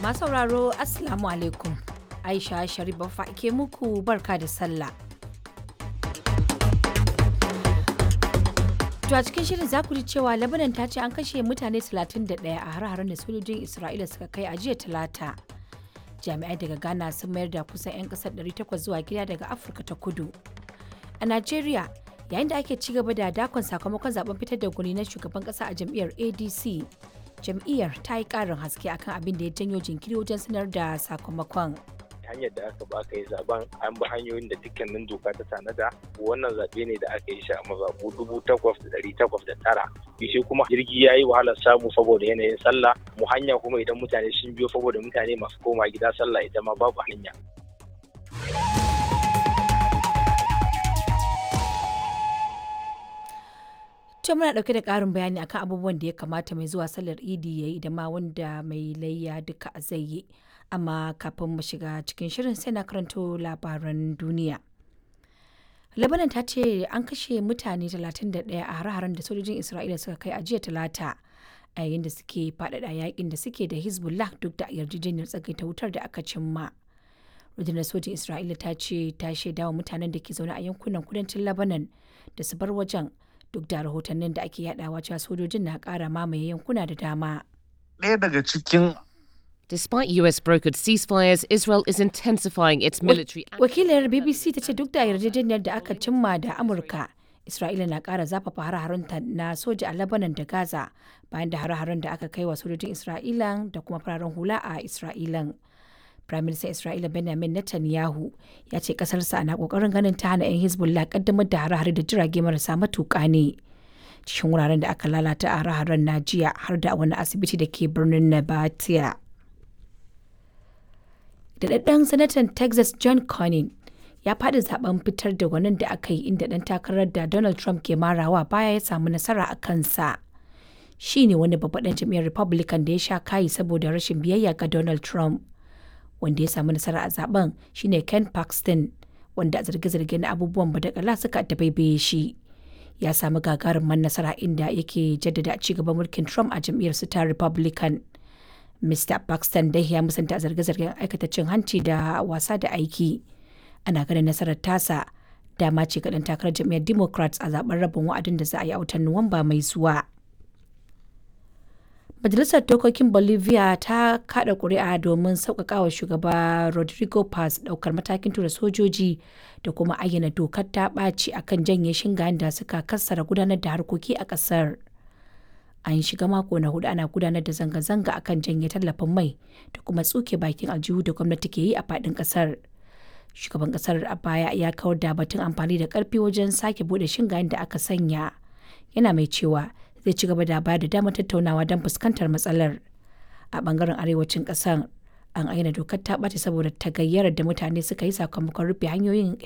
Masu sauraro, Assalamu alaikum. Aisha Sharif Baffa ke muku barka da sallah. To a cikin shirin za ku ji cewa Lebanon ta ce an kashe mutane 31 a har-haren da sojojin Isra'ila suka kai a jiya Talata. Jami'ai daga Ghana sun mayar da kusan 'yan kasar 800 zuwa gida daga Afirka ta Kudu. A Najeriya, yayin da ake ci gaba da dakon sakamakon zaben fitar da gwani na shugaban kasa a jam'iyyar ADC, jam'iyyar ta yi ƙarin haske akan abin da ya janyo jinkiri wajen sanar da sakamakon. Hanyar da aka ba aka yi zaben, an bi hanyoyin da dukkanin doka ta tanada. Wannan zaɓe ne da aka yi shi a mazaɓu 8,809. Shi kuma jirgi ya yi wahalar samu saboda yanayin sallah mu hanya, kuma idan mutane sun biyo saboda mutane masu koma gida sallah, ita ma babu hanya. To muna ɗauke da ƙarin bayani akan abubuwan da ya kamata mai zuwa sallar Idi ya yi da ma wanda mai layya duka zai yi. Amma kafin mu shiga cikin shirin, sai na karanto labaran duniya. Lebanon ta ce an kashe mutane 31 a hare-haren da sojojin Isra'ila suka kai a jiya Talata, a yayin da suke faɗaɗa yakin da suke da Hezbollah duk da yarjejeniyar tsagaita wutar da aka cimma. Rundunar sojin Isra'ila ta ce ta shaidawa mutanen da ke zaune a yankunan kudancin Lebanon da su bar wajen, duk da rahotannin da ake yadawa cewa sojojin na kara mamaye yankuna da dama. Ɗaya daga cikin Despite US brokered ceasefires, Israel is intensifying its military Wakilar BBC ta ce duk da yarjejeniyar da aka cimma da Amurka, Isra'ila na kara zafafa hare-harenta na soja a Lebanon da Gaza bayan da hare-haren da aka kai wa sojojin Isra'ila da kuma fararen hula a Isra'ilan. Prime Minister Isra'ila Benjamin Netanyahu ya ce kasarsa na kokarin ganin ta hana 'yan Hezbollah kaddamar da hare-hare da jirage marasa matuƙa ne. Cikin wuraren da aka lalata a hare-haren na jiya har da wani asibiti da ke birnin Nabatia. Daɗaɗɗen sanatan Texas John Cornyn ya faɗi zaben fitar da gwanin da aka yi, inda ɗan takarar da Donald Trump ke marawa baya ya samu nasara a kansa. Shi ne wani babban ɗan jam'iyyar Republican da ya sha kayi saboda rashin biyayya ga Donald Trump. Wanda ya samu nasara a zaben shine Ken Paxton, wanda a zarge-zarge na abubuwan badakala suka dabaibaye shi. Ya samu gagarumin nasara, inda yake jaddada ci gaban mulkin Trump a jam'iyyar su ta Republican. Mr. Paxton dai ya musanta zarge-zargen aikata cin hanci da wasa da aiki. Ana ganin nasarar tasa dama ce ga ɗan takarar jam'iyyar Democrats a zaben rabin wa'adin da za a yi a watan Nuwamba mai zuwa. Majalisar Dokokin Bolivia ta kada kuri'a domin sauƙaƙawa shugaba Rodrigo Paz ɗaukar matakin tura sojoji da kuma ayyana dokar ta ɓaci akan janye shingayen da suka kassara gudanar da harkoki a ƙasar. An shiga mako na hudu ana gudanar da zanga-zanga akan janye tallafin mai da kuma tsuke bakin aljihu da gwamnati ke yi a faɗin ƙasar. Shugaban ƙasar a baya ya kawar da batun amfani da ƙarfi wajen sake buɗe shingayen da aka sanya. Yana mai cewa zai ci gaba da bayar da damar tattaunawa don fuskantar matsalar. A bangaren arewacin kasar, an aina dokar ta ɓace saboda tagayyarar da mutane suka yi sakamakon rufe hanyoyin.